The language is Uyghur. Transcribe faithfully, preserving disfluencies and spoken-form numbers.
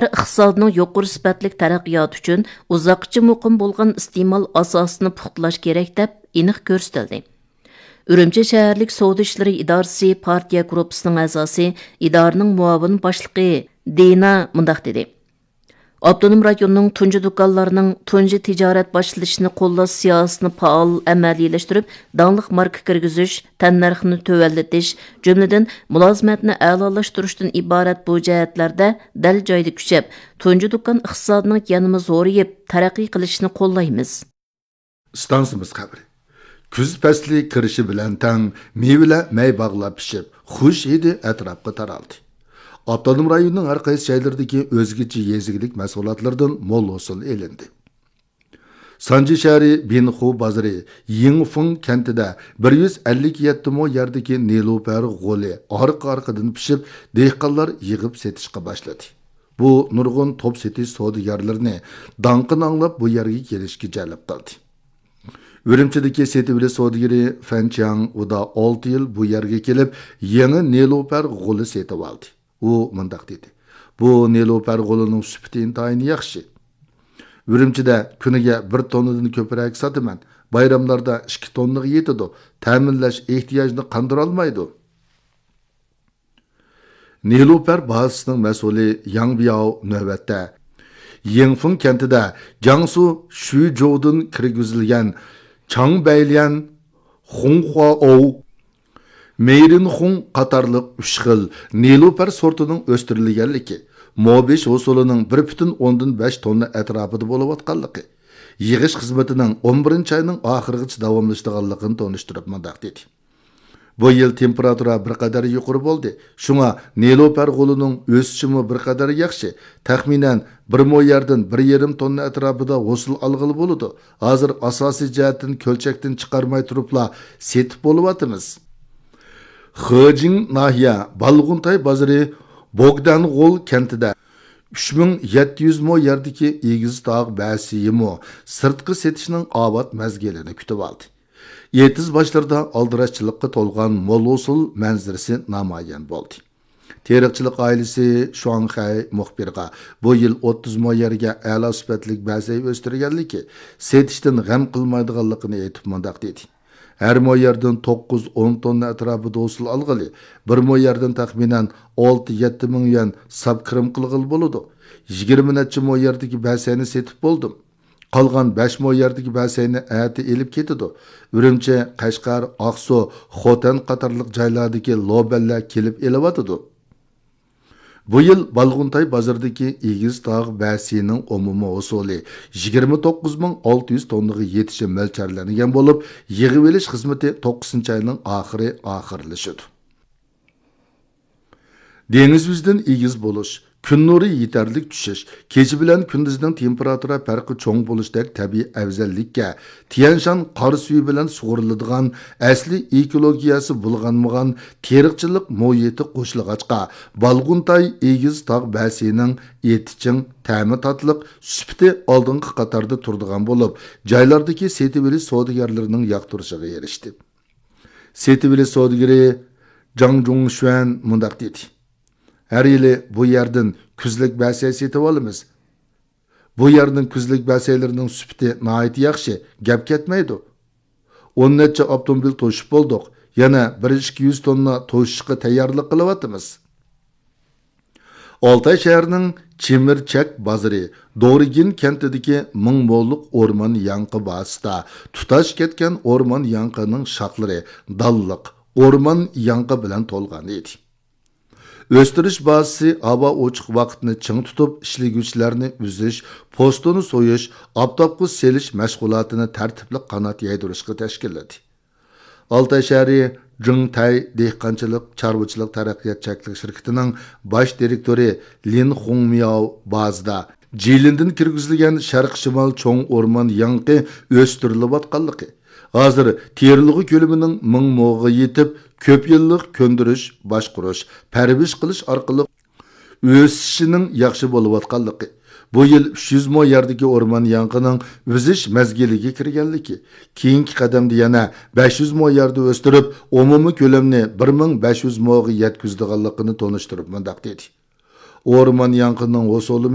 ئىقتىسادىنىڭ يۇقىرى سۈپەتلىك تەرەققىياتى ئۈچۈن ئۇزاققىچە مۇقىم بولغان ئىستېمال ئاساسىنى پۇختىلاش كېرەك، دەپ ئېنىق كۆرسىتىلدى. ئۈرۈمچى شەھەرلىك سودا ئىشلىرى ئىدارىسى پارتىيە گۇرۇپپىسىنىڭ ئەزاسى، ئىدارىنىڭ مۇئاۋىن باشلىقى دىنا مۇنداق دېدى: ئاپتونوم رايوننىڭ تۇنجى دۇكانلارنىڭ تۇنجى تىجارەت باشلىشىنى قوللاش سىياسىتىنى پائال ئەمەلىيلەشتۈرۈپ، داڭلىق ماركا كىرگۈزۈش، تەننەرخنى تۆۋەنلىتىش، جۈملىدىن مۇلازىمەتنى ئەلالاشتۇرۇشتىن ئىبارەت بۇ جەھەتلەردە دەل جايىدا كۈچەپ، تۇنجى دۇكان ئىقتىسادىنىڭ يەنىمۇ زورىيىپ، تەرەققىي قىلىشىنى قوللايمىز. ئىستانسىمىز خەۋىرى. كۈز پەسلى كىرىشى بىلەن تەڭ مېۋىلەر مەي باغلار پىشىپ، خۇش ھىدى ئەتراپقا تارالدى. ئاپتونوم رايوننىڭ ھەر قايسى جايلىرىدىكى ئۆزگىچە يېزا ئىگىلىك مەھسۇلاتلىرىدىن مول ھوسۇل ئېلىندى. سانجى شەھىرى بىنخۇ بازىرى يىڭفېڭ كەنتىدە بىر يۈز ئەللىك يەتتە مو يەردىكى نېلۇپەر غولى ئارقا-ئارقىدىن پىشىپ، دېھقانلار يىغىپ سېتىشقا باشلىدى. بۇ نۇرغۇن توپ سېتىش سودىگەرلىرىنى داڭقىنى ئاڭلاپ بۇ يەرگە كېلىشكە جەلپ قىلدى. ئۈرۈمچىدىكى سېتىۋېلىش سودىگىرى فەن چياڭ ئۇدا ئالتە يىل بۇ يەرگە كېلىپ، يېڭى نېلۇپەر غولى سېتىۋالدى. ئۇ مۇنداق دېدى: بۇ نېلۇپەر غولىنىڭ سۈپىتى ئىنتايىن ياخشى. ئۈرۈمچىدە كۈنىگە بىر توننىدىن كۆپرەك ساتىمەن. بايراملاردا ئىككى توننىغا يېتىدۇ. تەمىنلەش ئېھتىياجىنى قاندۇرالمايدۇ. نېلۇپەر بازىسىنىڭ مەسئۇلى ياڭ بياۋ نۆۋەتتە يىڭفېڭ كەنتىدە جياڭسۇ شۈجوۋدىن كىرگۈزۈلگەن چاڭبەيليەن، خۇڭخۇاۋ، مېيرىنخۇڭ قاتارلىق ئۈچ خىل نېلۇپەر سورتىنىڭ ئۆستۈرۈلگەنلىكى، مو بېشى ھوسۇلىنىڭ بىر پۈتۈن ئوندىن بەش توننا ئەتراپىدا بولۇۋاتقانلىقى، يىغىش خىزمىتىنىڭ ئون بىرىنچى ئاينىڭ ئاخىرىغىچە داۋاملىشىدىغانلىقىنى تونۇشتۇرۇپ مۇنداق دېدى: بۇ يىل تېمپېراتۇرا بىر قەدەر يۇقىرى بولدى، شۇڭا نېلۇپەر غولىنىڭ ئۆسۈشىمۇ بىر قەدەر ياخشى. تەخمىنەن بىر مو يەردىن بىر يېرىم توننا ئەتراپىدا ھوسۇل ئالغىلى بولىدۇ. ھازىر ئاساسىي جەھەتتىن كۆلچەكتىن چىقارماي تۇرۇپلا سېتىپ بولۇۋاتىمىز. خېجىڭ ناھىيە بالغۇنتاي بازىرى بوگدانغول كەنتىدە ئۈچ مىڭ يەتتە يۈز مو يەردىكى ئېگىز تاغ بەسىيىمۇ سىرتقا سېتىشنىڭ ئاۋات مەزگىلىنى كۈتۈۋالدى. ئېتىز باشلىرىدا ئالدىراشچىلىققا تولغان مول ھوسۇل مەنزىرىسى نامايان بولدى. تېرىقچىلىق ئائىلىسى شۇاڭخەي مۇخبىرغا بۇ يىل ئوتتۇز مو يەرگە ئەلا سۈپەتلىك بەسەي ئۆستۈرگەنلىكى، سېتىشتىن غەم قىلمايدىغانلىقىنى ئېيتىپ مۇنداق دېدى: ھەر مو يەردىن توققۇز، ئون توننا ئەتراپىدا ھوسۇل ئالغىلى، بىر مو يەردىن تەخمىنەن ئالتە، يەتتە مىڭ يۈەن ساپ كىرىم قىلغىلى بولىدۇ. يىگىرمە نەچچە مو يەردىكى بەسەينى سېتىپ بولدۇم. قالغان بەش مو يەردىكى بەسەينى ئەتە ئېلىپ كېتىدۇ. ئۈرۈمچى، قەشقەر، ئاقسۇ، خوتەن قاتارلىق جايلاردىكى لوبەنلەر كېلىپ ئېلىۋاتىدۇ. بۇ يىل بالغۇنتاي بازىرىدىكى ئېگىز تاغ بەسىيىنىڭ ئومۇمىي ھوسۇلى يىگىرمە توققۇز مىڭ ئالتە يۈز توننىغا يېتىشى مۆلچەرلەنگەن بولۇپ، يىغىۋېلىش خىزمىتى توققۇزىنچى ئاينىڭ ئاخىرى ئاخىرلىشىدۇ. دېڭىز يۈزىدىن ئېگىز بولۇش، كۈن نۇرى يېتەرلىك چۈشۈش، كېچە بىلەن كۈندۈزنىڭ تېمپېراتۇرا پەرقى چوڭ بولۇشتەك تەبىئىي ئەۋزەللىككە، تيەنشان قار سۈيى بىلەن سۇغۇرۇلىدىغان ئەسلىي ئېكولوگىيەسى بۇلغانمىغان تېرىقچىلىق مۇھىتى قوشۇلغاچقا، بالغۇنتاي ئېگىز تاغ بەسىيىنىڭ ئېتى چىڭ، تەمى تاتلىق، سۈپىتى ئالدىنقى قاتاردا تۇرىدىغان بولۇپ، جايلاردىكى سېتىۋېلىش سودىگەرلىرىنىڭ ياقتۇرۇشىغا ئېرىشتى. سېتىۋېلىش سودىگىرى جاڭ جۇڭشۈەن مۇنداق دېدى: ھەر يىلى بۇ يەردىن كۈزلۈك بەسەي سېتىۋالىمىز. بۇ يەرنىڭ كۈزلۈك بەسەيلىرىنىڭ سۈپىتى ناھايىتى ياخشى، گەپ كەتمەيدۇ. ئون نەچچە ئاپتوموبىل توشۇپ بولدۇق، يەنە بىر ئىككى يۈز توننا توشۇشقا تەييارلىق قىلىۋاتىمىز. ئالتاي شەھىرىنىڭ چىمىرچەك بازىرى دورىگىن كەنتىدىكى مىڭ موللۇق ئورمان ياڭىقى بازىسىدا تۇتاش كەتكەن ئورمان ياڭىقىنىڭ شاخلىرى دانلىق ئورمان ياڭىقى بىلەن تولغان ئىدى. ئۆستۈرۈش بازىسى ھاۋا ئوچۇق ۋاقىتنى چىڭ تۇتۇپ، ئىشلىگۈچىلەرنى ئۈزۈش، پوستىنى سويۇش، ئاپتاپقا سېلىش مەشغۇلاتىنى تەرتىپلىك قانات يايدۇرۇشقا تەشكىللىدى. ئالتاي شەھىرى جىڭتەي دېھقانچىلىق چارۋىچىلىق تەرەققىيات چەكلىك شىركىتىنىڭ باش دىرېكتورى لىن خۇڭمياۋ بازىدا جىلىندىن كىرگۈزۈلگەن شەرقىي شىمال چوڭ ئورمان ياڭىقى ئۆستۈرۈلۈۋاتقانلىقى، ھازىر تېرىلغۇ كۆلىمىنىڭ مىڭ موغا يېتىپ، كۆپ يىللىق كۆندۈرۈش، باشقۇرۇش، پەرۋىش قىلىش ئارقىلىق ئۆسۈشىنىڭ ياخشى بولۇۋاتقانلىقى، بۇ يىل ئۈچ يۈز مو يەردىكى ئورمان ياڭىقىنىڭ ئۈزۈش مەزگىلىگە كىرگەنلىكى، كېيىنكى قەدەمدە يەنە بەش يۈز مو يەردە ئۆستۈرۈپ، ئومۇمىي كۆلەمنى بىر مىڭ بەش يۈز موغا يەتكۈزىدىغانلىقىنى تونۇشتۇرۇپ مۇنداق دېدى: ئورمان ياڭىقىنىڭ ھوسۇلى